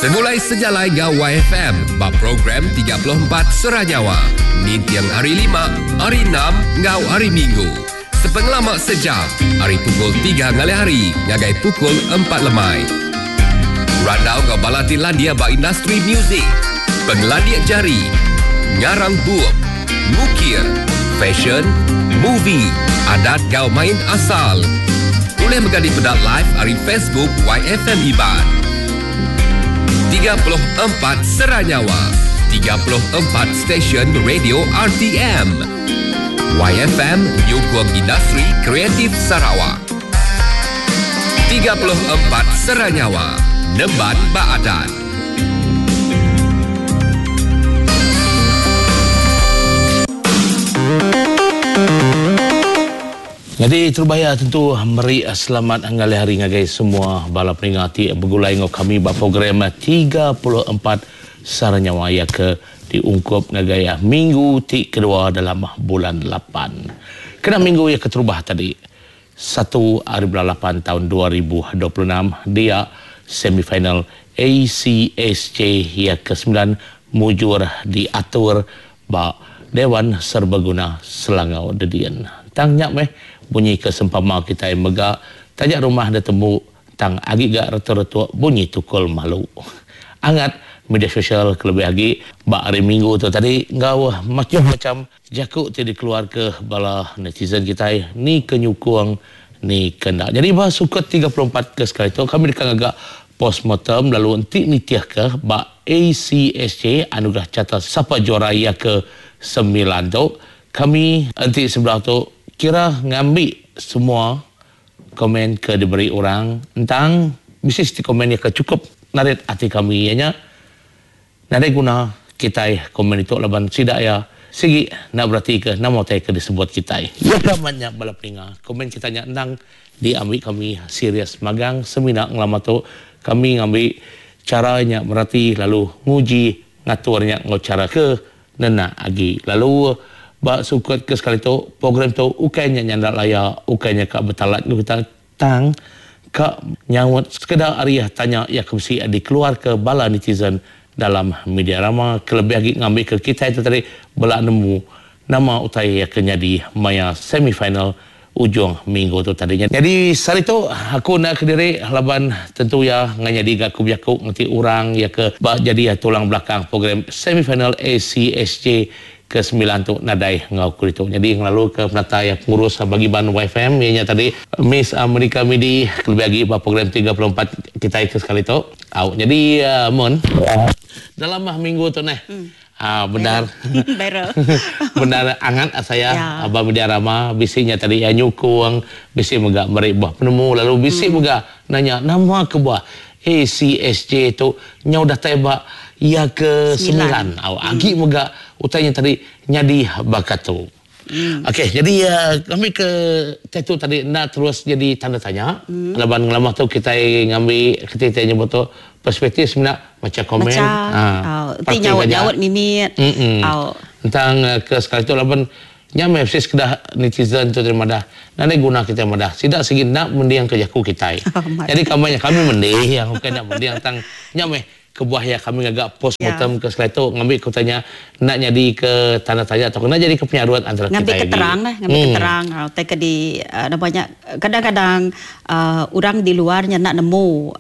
Segulai sejalai enggau YFM ba program 34 Sera Nyawa ninting hari Lima, Hari Enam enggau Hari Minggu. Sepengelama sejam ari pukul tiga ngalih hari ngagai pukul empat lemai. Randau enggau bala ti landik ba industri muzik, pengelandik jari, ngarang bup, ngukir, fashion, movie, adat enggau main asal. Ulih mega dipeda live ari Facebook YFM Iban. 34 Sera Nyawa, 34 stesen radio RTM. YFM nyukung industri kreatif Sarawak. 34 Sera Nyawa, nemban ba adat. Nyadi terubah iya tentu meri selamat ngalih hari ngagai semua bala peninga ti begulai enggau kami ba program 34 Sara Nyawa iya ke diungkup ngagai minggu ti kedua dalam bulan lapan. Kena minggu iya keterubah tadi, satu ari bulan lapan taun 2026 dia semifinal ACSJ iya ke semilan mujur diatur Ba Dewan Serbaguna Selangau Dedin. Tang nya meh bunyi ke sempama kitai mega taja rumah da tembu tang agi ga retuk-retuk bunyi tukul malu. Angat media sosial kelebih agi ba hari minggu tu tadi enggau macam-macam jaku ti dikeluarka bala netizen kitai ni ke nyukung ni ke enda. Nyadi ba sukut 34 ke sekali tu kami deka ngaga postmortem lalu enti nitihka ba ACSJ Anugerah Carta Sapa Juara iya ke semilan tu kami enti sebedau tu kira ngambi semua komen ke diberi orang entang bisi siti komen iya ke chukup narit ati kami iya nya nadai guna kitai komen ditu laban sida iya sigi enda beratika nama utai ke disebut kitai. Iya ke amat nya bala peninga komen kita nya endang diambi kami serius magang semina ngelama tu kami ngambi Chara nya merati lalu nguji ngatur nya enggau chara ke nenak agi. Lalu ba sukut ke sekali tu, program tu ukai nya nyanda laya, ukai nya ka betalat enggau kita tang ka nyaut sekeda ari tanya iya ke bisi dikeluarka bala netizen dalam media rama kelebih agi ngambika kitai tu tadi bela nemu Nama utai ke nyadi maya semifinal ujung minggu tu tadi nya. Nyadi sehari tu aku enda kediri laban tentu iya ngai nyadi ga aku bejaku ngeti orang iya ke ba jadi tulang belakang program semifinal ACSJ ke semilan tu nadai enggau aku ditu. Nyadi ngelalu ke penatai pengurus bagi ban YFM iya nya tadi Miss Amerika Midi kelebih agi ba program 34 kitai ke sekali tu. Au nyadi mun dalam minggu tu neh. Haa bendar. Bendar angat asai iya aba media rama bisi nya tadi iya nyukung bisi mega meri buah penemu lalu bisi mega nanya nama kebuah ACSJ tu nyau datai ba iya ke semilan au agi mega utai nya tadi nyadi baka tu. Okey jadi ngambi ke tai tu tadi enda terus jadi tanda tanya laban ngelama tu kitai ngambi keti kitai nyebut tu perspektif semina macha komen aaa ti nyaut nyaut mimit tentang ke sekali tu laban nya meh bisi sekeda netizen tu tadi madah nadai guna kitai madah sida sigi enda mending ke jaku kitai jadi kami nya kami mending ukai enda mending tang nya meh Kebuah iya kami ngaga post mortem ke sekali tu ngambi ke utai nya enda nyadi ke tanda tanya tauka enda nyadi ke penyarut antara Ngambi kitai ke agi. terang lah, ngambi ke terang utai ke di nama nya kadang-kadang orang di luar nya enda nemu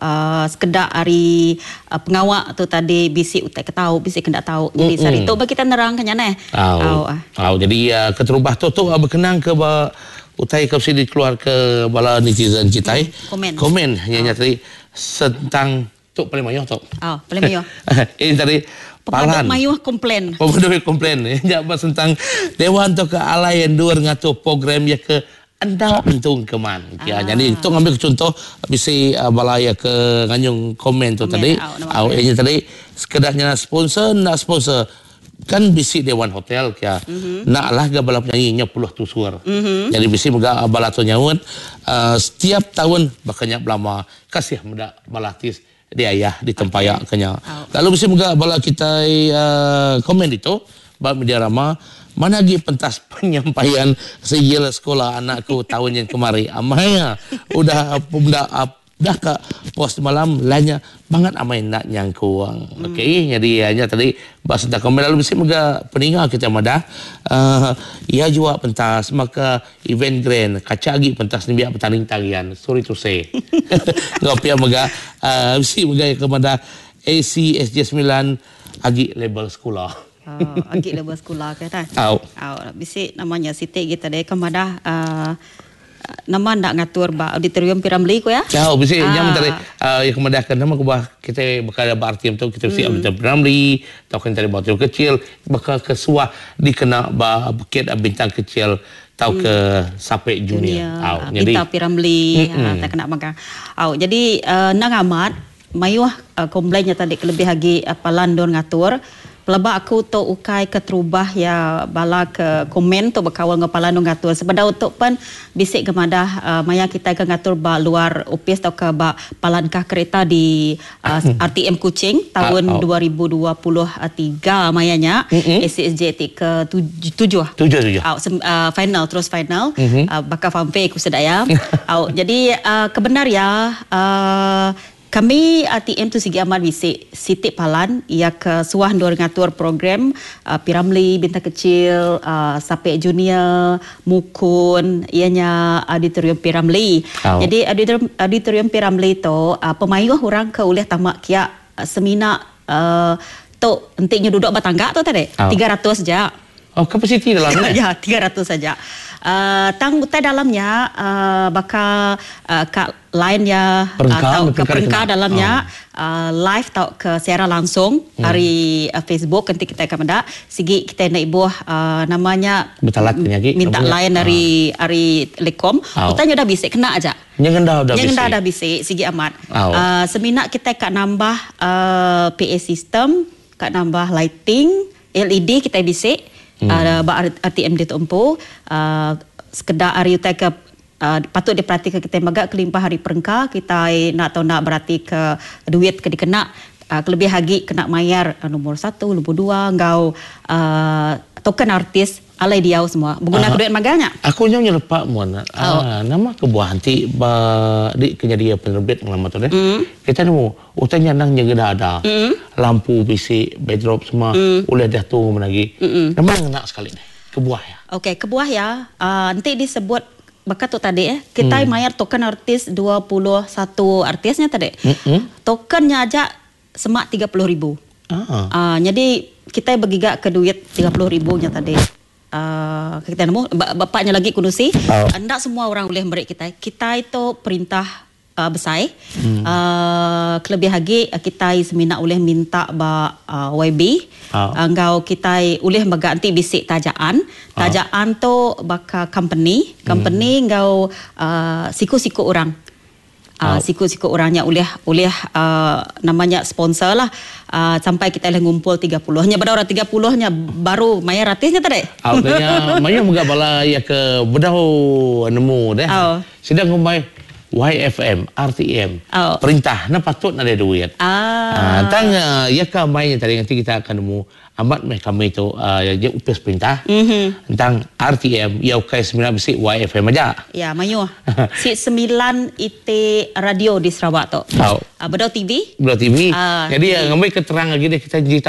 sekeda ari pengawa tu tadi bisi utai ke tau bisi ke enda tau. Jadi sehari tu ba kita nerang ke nya neh. Au. Au jadi keterubah tu tu bekenang ke ba utai ke bisi dikeluar ke bala netizen kitai. Komen. Komen nya nya tadi sentang Tu paling mayuh tu. Oh, paling mayuh. Ini tadi palan. Pemadu mayuh komplain. Pemadu mayuh komplain. Nya ba sentang dewan tu ke alai endur ngatur program iya ke enda entu engkeman. Ah. Jadi tu ngambil ke contoh bisi bala iya ke nganyung komen tu tadi. Au inya tadi sekeda nya sponsor enda sponsor. Kan bisi dewan hotel kia. Enda alah ga bala penyanyi nya puluh tusur. Jadi bisi mega bala tu nyaut setiap taun baka nya belama. Kasih meda bala artis diayah ditempaya ke nya. Lalu bisi mega bala kitai komen ditu ba media rama mana agi pentas penyampaian sijil sekula anak ku taun nyin kemari. Amai udah meda. Dah ka post malam lah nya bangat amai enda nyangkung. Mm. Okey, jadi nya tadi ba sentang komen lalu bisi mega peninga kita madah iya jua pentas maka event grand kaca agi pentas nembiak betanding tarian. Sorry to say. Enggau pia mega uh, bisi mega ke madah ACSJ 9 agi label sekula. Oh, agi label sekula ke ta. Au. Au, bisi namanya siti kita deh ke madah nama enda ngatur ba auditorium P. Ramlee ku iya. Au bisi nya men tadi iya ke madah ke nama kebuah kitai baka ba RTM tu kitai bisi auditorium P. Ramlee tauka enti ba auditorium kecil baka ke suah dikena ba bukit bintang kecil tauka Sapek Junior. Au nyadi Bintang P. Ramlee tai kena mega. Au jadi endang amat mayuh komplain nya tadi kelebih agi palan endur ngatur. Pelaba aku tu ukai keterubah iya bala ke komen tu bekaul enggau palan endur ngatur. Sebedau tu pen bisi ke madah maya kitai ke ngatur ba luar opis tauka ba palan kah kereta di RTM Kuching taun 2023 maya nya ACSJ ti ke tujuh. Au final terus final baka fanfare ku sida iya. Au jadi kebendar iya Kami RTM tu sigi amat bisi siti palan iya ke suah endur ngatur program P. Ramlee, Bintang Kecil, Sapek Junior, Mukun iya nya Auditorium P. Ramlee. Nyadi Auditorium P. Ramlee tu pemayuh orang ke ulih tama kia semina tu enti nyu duduk ba tangga tu tadi 300 ja. Oh kapasiti dalam nya? Ya 300 aja. Tang utai dalam nya baka ka line iya tauka perengka dalam nya live tauka siaran langsung ari Facebook enti kitai ka meda sigi kitai enda ibuh nama nya minta line ari ari telekom utai nya udah bisi kena aja. Nya ngenda udah bisi. Nya ngenda udah bisi sigi amat. Semina kitai ka nambah PA system ka nambah lighting LED kitai bisi ba RTM ditu empu sekeda ari utai ke patut diperatika kitai mega kelimpah ari perengka kitai enda tau enda beratika duit ke dikena kelebih agi kena mayar nombor satu nombor dua enggau token artis alai diau semua beguna ke duit magang nya. Aku nyau nyelepa mun nama kebuah enti ba di ke nyadi penerbit ngelama tu deh kitai nemu utai nya endang nyegeda ada lampu bisi backdrop semua ulih diatur ngemena agi nama ngena sekali deh. Kebuah iya. Okey, kebuah iya, enti disebut baka tu tadi eh, kitai mayar token artis 21 artis nya tadi. Token nya aja semak 30 ribu. Nyadi kitai begiga ke duit 30 ribu nya tadi. Kitai nemu bapak nya lagi ku nusi, enda semua orang ulih meri kitai. Kitai tu perintah besai. Kelebih agi kitai semina ulih minta ba YB enggau kitai ulih mega enti bisi tajaan. Tajaan tu baka company, company enggau siku-siku orang. Siku-siku orang nya ulih ulih nama nya sponsor lah sampai kitai ulih ngumpul 30. Nya beda orang 30 nya baru mayar ratus nya tadi. Au ke nya mayuh mega bala iya ke bedau nemu deh. Sida ngumbai YFM, RTM, perintah enda patut nadai duit. Tang iya ke ambai nya tadi nganti kita akan nemu amat meh kami tu iya opis perintah. Tang RTM iya ukai semina bisi YFM aja. Ya mayuh. Si semilan iti radio di Sarawak tu. Bedau TV. Bedau TV. Jadi ngambi ke terang agi deh kita digital.